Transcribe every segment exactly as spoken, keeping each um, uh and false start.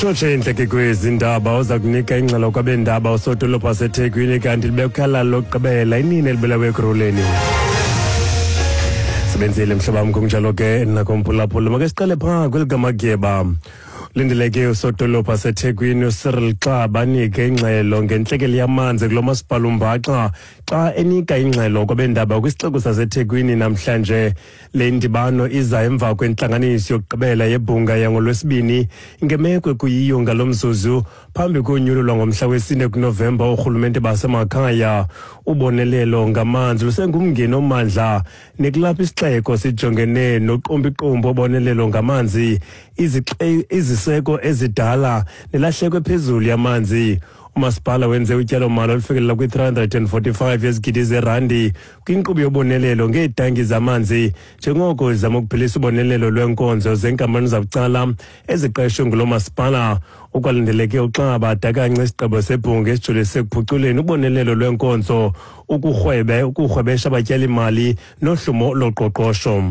Tshotshe intleke kwezi ndaba. Uza kunika ingxelo kwabendaba usodolophu waseThekwini, kanti libekhala lokugqibela inini elibulawe Ekurhuleni. Sebenzile mhlobam, kunjalo ke nakomphulaphula. Make siqale phaa kweli kaMagyeba. Lindeleke usodolophu waseThekwini uCyril Xaba anike ingxelo ngentlekele yamanzi kulo masipala umbaxa xa enika ingxelo kwabendaba kwisixeko saseThekwini namhlanje. Le ndibano iza emva kwentlanganiso yokugqibela yebhunga yangoLwesibini ngemeko ekuyiyo ngalo mzuzu phambi konyulo lwangomhla wesine kuNovemba oorhulumente basemakhaya. Ubonelelo ngamanzi lusengumngeni omandla, nekulapho isixeko sijongene noqumbiqumbi obonelelo ngamanzi, iziseko ezidala nelahleko ephezulu yamanzi. Umasipala wenze utyalomali olufikelela kwi-three hundred and forty-five yezigidi zerandi kwinkqubo yobonelelo ngeetanki zamanzi, njengoko zama ukuphelisa ubonelelo lweenkonzo zenkampani zabucala eziqeshwe ngulo masipala. Ukwalindeleke uXaba adakance isigqibo sebhunga esijolise ekuphuculeni ubonelelo lweenkonzo, ukurhwebe ukurhwebesha abatyalimali nohlumo loqoqosho.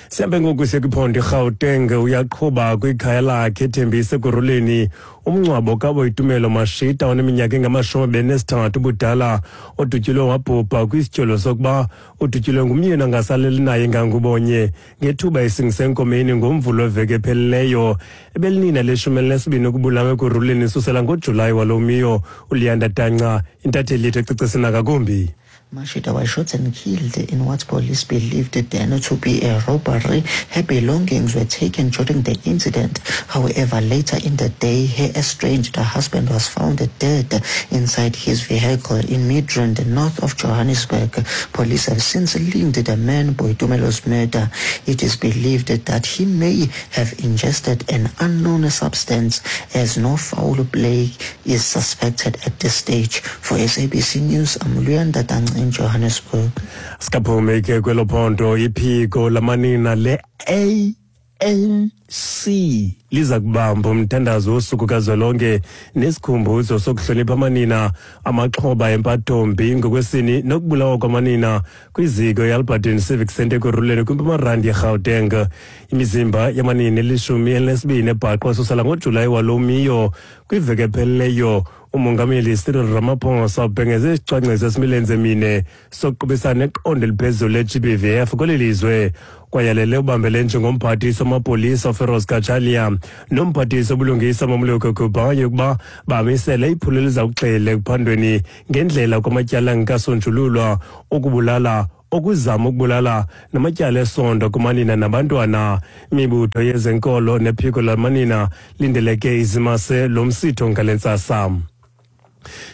Sihambe ngoku siye kwiphondo iGauteng. Uyaqhuba kwikhaya lakhe eThembisa Ekurhuleni umngcwabo kaBoitumelo Mashita oneminyaka engamashumi abini nesithathu ubudala, odutyulwe wabhubha kwisityholo sokuba udutyulwe ngumyeni angasaleli naye ngangubonye ngethuba esingise enkomeni ngoMvulo weveki ephelileyo. Ebelinina leshumi elinesibini ukubulawa Ekurhuleni susela ngoJulayi walo miyo. ULiyanda Danca, intatheli yethu, ecicisa ngakumbi. Mashita was shot and killed in what police believed then to be a robbery. Her belongings were taken during the incident. However, later in the day, her estranged husband was found dead inside his vehicle in Midrand, north of Johannesburg. Police have since linked the man Boitumelo's murder. It is believed that he may have ingested an unknown substance, as no foul play is suspected at this stage. For S A B C News, I'm Luyanda Dang in Johannesburg. Sikaphume ke kwelo phondo. Iphiko lamanina le-A N C liza kubamba umthandazo wosuku kazwelonke nesikhumbuzo sokuhlonipha amanina amaxhoba empathombi ngokwesini nokubulawa kwamanina kwiziko i-Alberton Civic Centre Ekurhuleni kwiMpumalanga yeGauteng. Imizimba yamanina elishumi elinesibini ebhaqwa susela ngoJulayi walo miyo. Kwiveki ephelileyo umongameli Cyril Ramaphosa ubhengeze isicwangciso esimilenze mine sokuqubisana neqondo eliphezulu le-G B V F kweli lizwe. Kwayalele ubambele njengomphathiswa wamapolisa uFiroz Cachalia nomphathiswa obulungisa Mmamoloko Kubayi ukuba bamisele iphulo eliza kugxila ekuphandweni ngendlela kwamatyala angekasonjululwa okubulala, okuzama ukubulala namatyala esondo kumanina nabantwana. Imibutho yezenkolo nephiko lamanina lindeleke izimase lo msitho ngale ntsasa.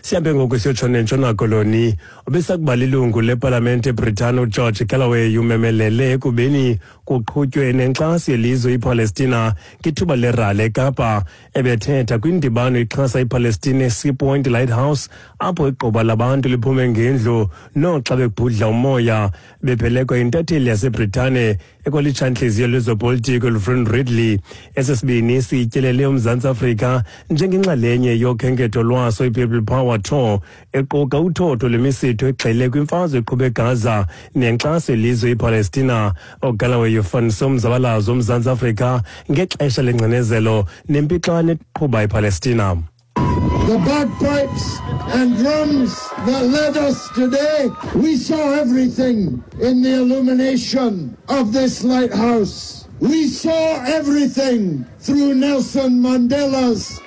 Sihambe ngoku siyotshona eNtshona Koloni. Obesakuba lilungu lepalamente eBritane uGeorge Galloway umemelele ekubeni kuqhutywe nenkxaso yelizwe iPalestina ngethuba lerali eKapa. Ebethetha kwindibano ixhasa iPalestina eSea Point Lighthouse, apho igquba labantu liphume ngendlu noxa bebhudla umoya, bephelekwa yintatheli yaseBritane ekwalitshantliziyo lwezopolitiko uFran Ridley. Esi sibini sityelele uMzantsi Afrika njengenxalenye yokhenketho lwaso iPeople Power Tour, equka uthotho lwemisitho egxile kwimfazwe eqhuba eGaza nenkxaso yelizwe iPalestina. OGalloway ufanise umzabalazo woMzantsi Afrika ngexesha lengcinezelo nempixano eqhuba iPalestina. The bagpipes and drums that led us today, we saw everything in the illumination of this lighthouse. We saw everything through Nelson Mandela's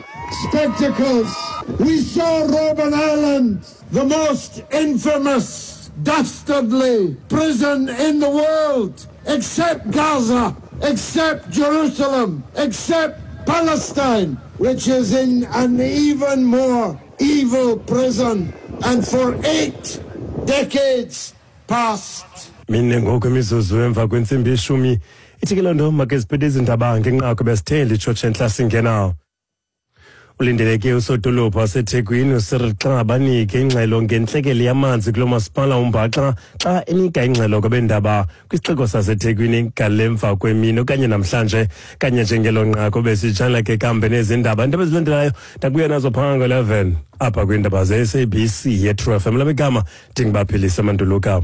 spectacles. We saw Robben Island, the most infamous, dastardly prison in the world, except Gaza, except Jerusalem, except Palestine, which is in an even more evil prison, and for eight decades past. Mine ngoku imizuzu emva kwentsimbi yeshumi. Ithi ke loo nto make siphethe izindaba ngenqaku besithe litshotshe entla singena. Ulindeleke usodolophu waseThekwini uCyril Xaba anike ingxelo ngentlekele yamanzi kulo masipala umbaxa xa enika ingxelo kwabendaba kwisixeko saseThekwini ngalemva kwemini okanye namhlanje kanye njengelo nqaku besitshala ke kambe nezindaba. Iindaba ezilandelayo ndakuya nazo phaa ngo-eleven apha kwiindaba ze-S A B C ye-True F M. Lam igama ndinguBaphilisa Manduluka.